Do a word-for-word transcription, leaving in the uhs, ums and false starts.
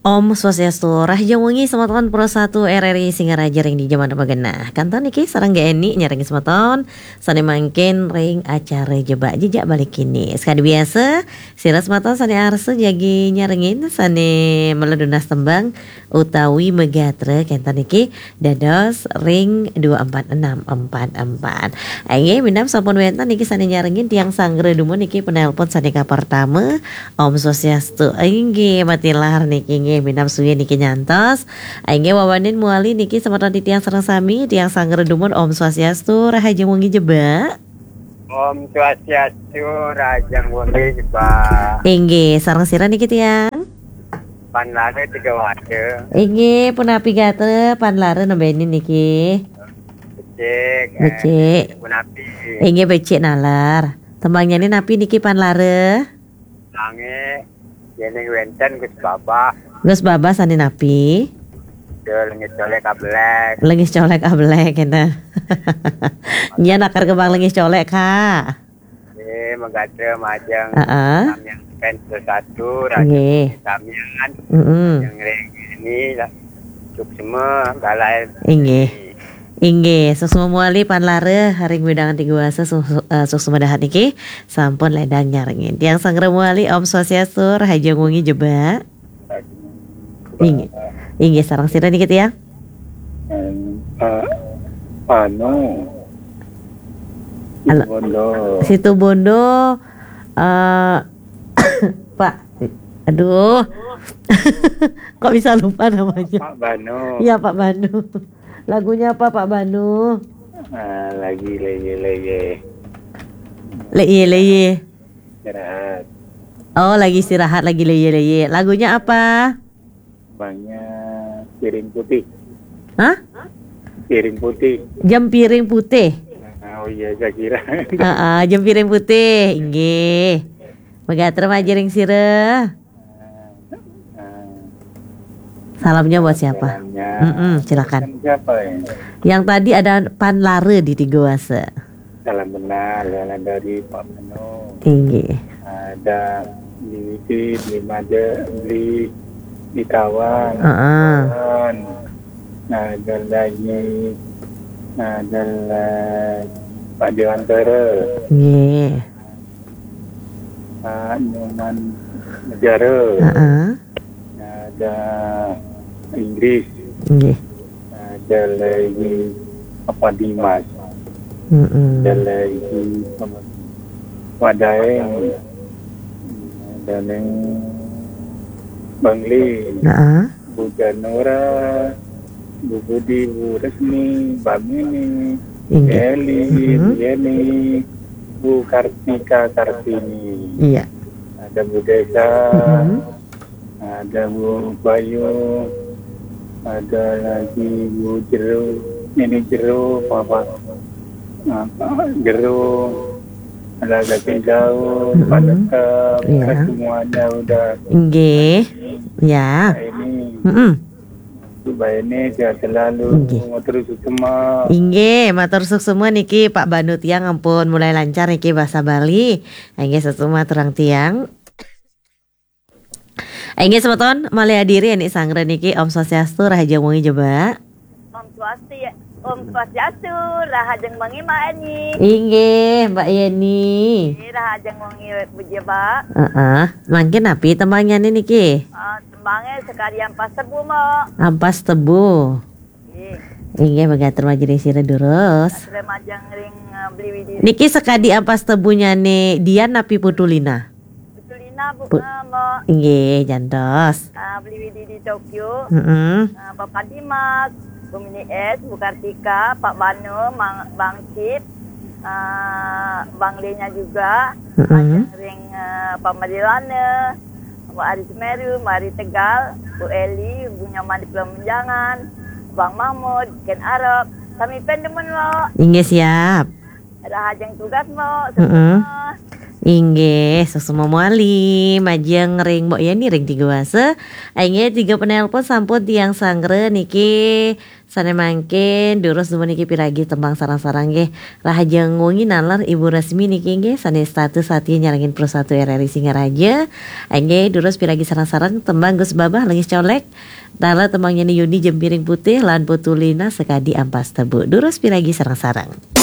Om Swastiastu, rahajeng wengi semeton Pro satu R R I Singaraja ring dija mangkin magenah. Kantun niki sareng Gék Eni nyarengin semeton sané mangkin ring acara Jebak Jejak Bali Kini. Sakadi biasa, sira semeton sané arsa jagi nyarengin, sané mela nunas tembang utawi magatra kantun niki dados ring dua empat enam empat empat. Inggih, minab sampun wénten niki sané nyarengin, tiang sanggra dumun niki penelpon sané kapertama. Om Swastiastu. Inggih, matilar niki, inggih, minab suwi niki nyantos. Inggih, wawanin mawali niki semeton titiang sareng sami, tiang sanggra dumun. Om Swastiastu, rahajeng wengi Jebak. Om Swastiastu, rahajeng wengi Jebak. Inggih, sareng sira niki tiang? Pan Lara Tiga Wasa. Inggih, punapi gatra Pan Lara nembénin niki? Becik, eh, Becik. Punapi? Inggih, becik nalar. Tembangnyané napi niki Pan Lara? Nanging yéning wénten Gus Babah. Gus Babah sané napi? Yo, Lengis Colék Ablék. Lengis Colék Ablék, kénten. Nggih, nakar kembang Lengis Colék, Kak. Nggih, magatra majeng. Heeh. Samian fans Pro satu, rahajeng wengi samian. Mm-mm. Yang ring ini lah. Suksma, galai. Inggih. Inggih, suksma mawali Pan Lara ring wewidangan Tiga Wasa, su-, su-, eh, suksma dahat niki. Sampun lédang nyarengin. Tiang sanggra mawali, Om Swastiastu, rahajeng wengi Jebak. Inggih. Inggih, sareng sira niki tiang? Eh, Pak Pano. Halo. Situbondo. Situbondo, eh, Pak, aduh. Kok bisa lupa namanya? Pak Bano. Iya, Pak Bano. Lagunya apa, Pak Bano? Ah, lagi leye-leye. Leye-leye. Istirahat. Oh, lagi istirahat, lagi leye-leye. Lagunya apa? Abangnya Piring Putih. Hah? Piring Putih. Jempiring Putih. Ah, oh iya, saya kira. Heeh, Jempiring Putih, inggih. Magatra majeng ring sira. Ah, salamnya buat siapa? Salamnya. Mm-mm, silakan. Kan siapa ya? Yang tadi ada Pan Lara di Tiga Wasa. Salam kenal, salam dari Pak Mano. Inggih. Ada Bli Widi, Bli Made, Bli Dikawang. Heeh. Kawan. Ada lagi, ada lagi Pak Dewantara. Nggih. Pak Nyoman Negara. Heeh. Ada Inggris. Nggih. Ada lagi Apa Dimas. Mm-mm. Ada lagi Pak Daeng. Ada Neng Bangli. Heeh. Bu Janora, Bu Budi, Bu Resmi, Mbak Mini, inggih. Eli, mm-mm. Bu Yeni, Bu Kartika Kartini. Iya. Ada Bu Desa, mm-mm. Ada Bu Bayu, ada lagi Bu Jero, Nini Jero, Papa, apa, Jero, ada Gaceng Jauh, mm-mm. Pak Dekem, iya. Semuanya udah. Inggih. Ya. Ini. Mm-mm. Mbak Eni sehat selalu. Inggih. Matur suksma. Inggih, matur suksma niki Pak Banu tiang ampun mulai lancar niki basa Bali. Inggih, suksma aturang tiang. Inggih, semeton malih adiri anak sanggra niki, Om Swastiastu, rahajeng wengi Jebak. Om Swasti-, Om Swastiastu, rahajeng wengi Mbak Eni. Inggih, Mbak Yeni. Inggih, rahajeng wengi Bu Jebak. Heeh. Mangkin napi tembangnyané niki? Ah, tembangé sakadi Ampas Tebu, Mbok. Ampas Tebu. Nggih. Inggih, magatra majeng ring sira durus. Magatra majeng ring, eh, Bli Widi. Niki sakadi Ampas Tebunyané Dian napi Putu Lina? Putu Lina, Bu, Pu-, eh, Mbok. Inggih, jantos. Ah, Bli Widi di Tokyo. Mm-mm. Ah, Bapak Dimas, Bu Mini S, Bu Kartika, Pak Bano, Mang, Bang Cip, eh, Bang Lenya juga, mm-mm. Majeng ring, eh, Pak Madilana, Bu Ari Semeru, Bu Ari Tegal, Bu Eli, Bu Nyoman di Pulau Menjangan, Bang Mahmud, Ken Arok, sami pun demen, Mbok. Inggih, siap. Rahajeng tugas, Mbok. Mm-mm. Semua. Inggih, suksma mawali, majeng ring Mbok Yani ring tiga wasa. Inggih, tiga penelpon sampun tiang sanggra niki. Sane mangkin, durus dumun niki piragi tembang sareng-sareng nggih. Rahajeng wengi naler Ibu Resmi niki nggih, sane setata satia nyarengin Pro satu R R I Singaraja. Inggih, durus piragi sareng-sareng tembang Gus Babah Lengis Colek. Taler tembang nyen Yuni Jempiring Putih lan Putu Lina Sekadi Ampas Tebu. Durus piragi sareng-sareng.